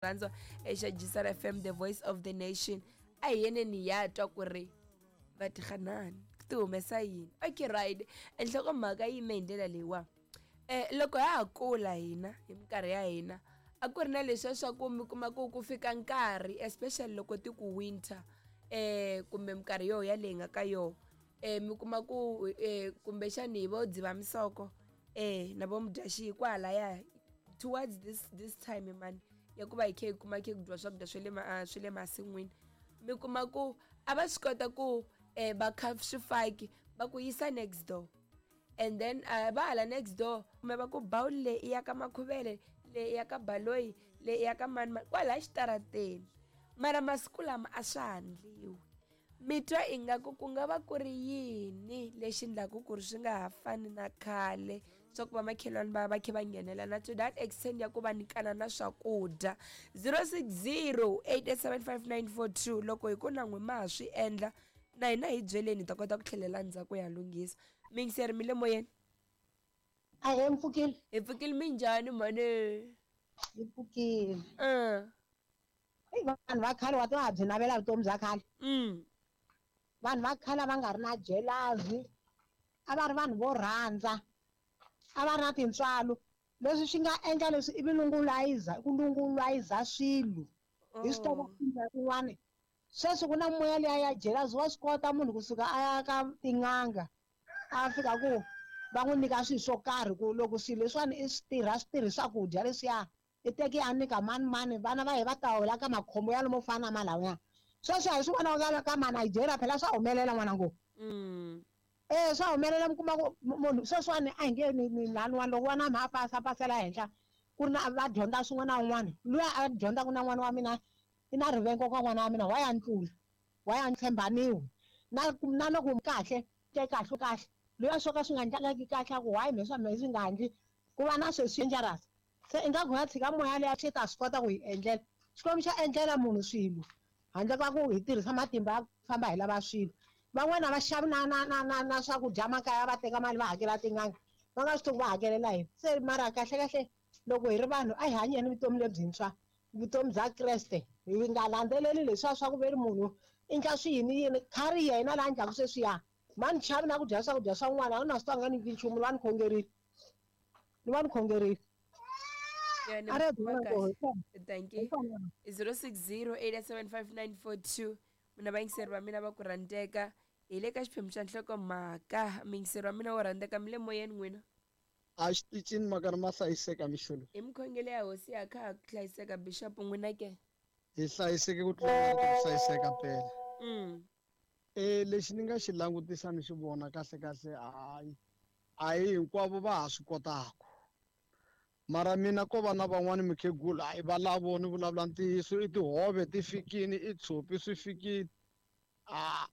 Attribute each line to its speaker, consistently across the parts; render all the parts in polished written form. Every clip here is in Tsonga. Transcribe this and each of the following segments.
Speaker 1: Rhandzwa exa Gisar FM, the voice of the nation. A hi yeneni hi ya twa ku ri va tirhanani ti humesa yini. Okay, right, enhlokomhaka yi yime hi ndlela leyiwa. Loko ha ha kula hina hi minkarhi ya hina, a ku ri na leswiya swa ku mi kuma ku ku fika nkarhi, especially loko ti ku winter, kumbe minkarhi yo ya leyi nga ka yoho, mi kuma ku kumbexani hi vo Dzivamisoko na vo Mudyaxihi kwalaya towards this time mani ya ku va hi khe hi kuma khe ku dyiwa swakudya swa le swa le masin'wini, mi kuma ku a va swi kota ku va kha swifaki va ku yisa next door, and then va hala next door kumbe va ku bowl leyi i ya ka Makhuvele, leyi i ya ka Baloyi, leyi i ya ka mani mani kwalaya xitarateni. Mara masiku lama a swa ha ndliwi. Mi twa ingaku ku nga va ku ri yini lexi endlaku ku ri swi nga ha fani na khale swa ku vamakhelwani va va khe va nghenelana to that extent ya ku va nyikana na swakudya? 0608875942. Loko hi ku na n'wi ma ha swi endla, na hina hi byeleni, hi ta kota ku tlhelela ndzhaku ya lunghisa. Miyingiseri, mi le moyeni.
Speaker 2: Ahee, mpfukile.
Speaker 1: Hi pfukile, minjhani mhani?
Speaker 2: Hi pfukile. Eyi, vanhu va khale wa tiva ha byi navela vutomi bya khale. Vanhu va khale a va nga ri na jealousy, a va ri vanhu vo rhandza, a va ri na tintswalo. Leswi swi nga endla leswi i vulungulayiza, ku lungulayiza swilo. Hi swi tiva kun'wana. Sweswi ku na moya liya ya jealousy, wa swi kota munhu kusuka a ya ka tin'anga, a fika ku va n'wi nyika swilo swo karhi ku loko swilo leswiwani i swi tirha, swi tirhi swakudya leswiya, i teke a nyika mani mani, vana va yena va ta wela ka makhombo ya lomo fana na malawuya. Sweswi a hi swi vona ka ma Nigeria, phela swa humelela n'wana ngo. Swa humelela, mi kuma ku munhu sweswiwani a hi nge ni laniwani loko n'wana wa mina a pasa pasela henhla, ku ri na va dyondza swin'wana na un'wana, luya a dyondzaka na n'wana wa mina i na rivengo ka n'wana wa mina, wa ya ntlula, wa ya tshembaniwi. Na loko kahle, ke kahle kahle, luya swo ka swi nga ndlangaki kahle, a ku why me swa mehe swi nga ndli, ku va na sweswi dangerous. Se ingaku hi nga tshika moya liya xi ta swi kota ku hi endlela. Xikwembu xa endlela munhu swilo handle ka ku hi tirhisa matimba ya ku famba hi lava swilo. Van'wana a va xavi na na na na na swakudya makaya, va teka mali va hakela tin'anga, va nga swi tivi ku va hakelela yini. Se mara kahle kahle loko hi ri vanhu a hi hanyeni vutomi lebyintshwa, vutomi bya Kreste, hi nga landzeleli leswiya swa ku ve ri munhu i ndla swi yini yini, khari yena laha ndlaku sweswiya ma ni chavi na ku dya swakudya swa n'wana, a na swi twa nga nyiki nchumu, ni va ni khongerile, ni va ni khongerile.
Speaker 1: Yeah, ni
Speaker 2: A ri
Speaker 1: kuma
Speaker 2: byela
Speaker 1: kahle.
Speaker 2: ku hi
Speaker 1: Thank you. 0608875942. Mina vayingiseri va mina va ku rhandzeka, hi le ka xiphemu xa nhlokomhaka. Muyingiseri wa mina wo rhandzeka, mi le moyeni n'wina.
Speaker 3: A xitichini maka ri ma hlayiseka mixolo.
Speaker 1: Hi mikhongelo ya hosi ya kha ha hlayiseka, Bishop, n'wina ke?
Speaker 3: Hi hlayiseke ku tlula ku hlayiseka phela. Lexi ni nga xi langutisa ni xi vona kahle kahle, hayi a hi hinkwavo va ha swi kotaka. Mara mina ko va na van'wani mukhegula, hayi va lavo ni vulavula ntiyiso, i tihove ti fikini, i tshopi swi fikini. A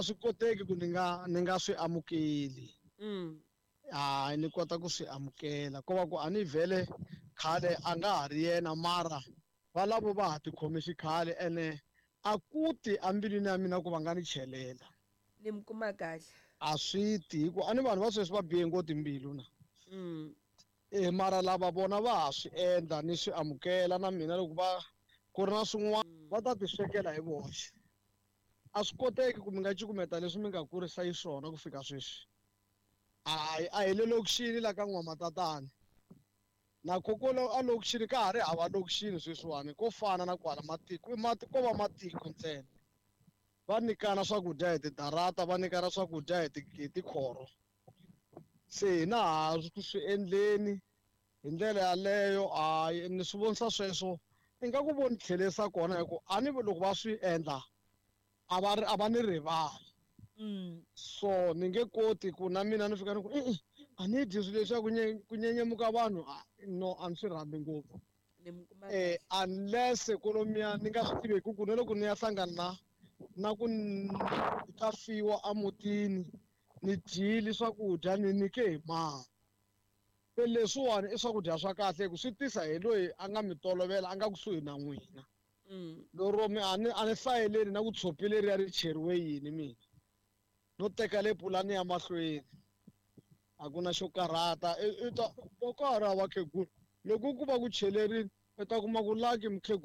Speaker 3: swi koteki ku ni nga swi amukeli. Hayi ni kota ku swi amukela, ko va ku a ni vhele khale a nga ha ri yena, mara va lavo va ha tikhome xikhale, ene a ku ti embilwini ya mina ku va nga ni chelela.
Speaker 1: Ni mi kuma kahle.
Speaker 3: A swi ti, hi ku a ni vanhu va sweswi va bihe ngopfu timbilu na. Mara lava vona va ha swi endla, ni swi amukela na mina loko va ku ri na swin'wana va ta ti swekela hi voxe. A swi koteki ku mi nga cukumeta leswi mi nga kurisa xiswona ku fika sweswi. Hayi, a hi le lokixini la ka N'wamatatana. Na kokolo a lokixini ka ha ri hava lokixini sweswiwani, ko fana na kwala matiko, i mati, ko va matiko ntsena. Va nyikana swakudya hi tidarata, va nyikana swakudya hi tikhoro. Se hina ha ku swi endleni hi ndlela yaleyo, hayi ni swi vonisa sweswo ingaku vo ni tlhelerisa kona, hi ku a ni loko va swi endla a va ri, a va ni rivali. So ni nge koti ku na mina ni fika ni ku e-e, a ni dyi swilo leswiya ku nyenyemuka vanhu, no, a ni swi rhandzi ngopfu.
Speaker 1: Ni mi kuma kahle.
Speaker 3: Unless kolomiya ni nga swi tivi ku ku na loko ni ya hlangana na ku ta fiwa emutini, ni dyile swakudya ni nyike hi mali. Se leswiwani i swakudya swa kahle ku swi tisa hi loyi a nga mi tolovela, a nga kusuhi na n'wina. Lero mi a ni hlayeleli na ku tshopi leriya ri cheriwe yini mina. No teka le pulani ya mahlweni. A ku na xo karhata. I ta, va ka ha ri hava khegula. Loko ku va ku chelerile, U ta kuma ku Lucky mukhegula.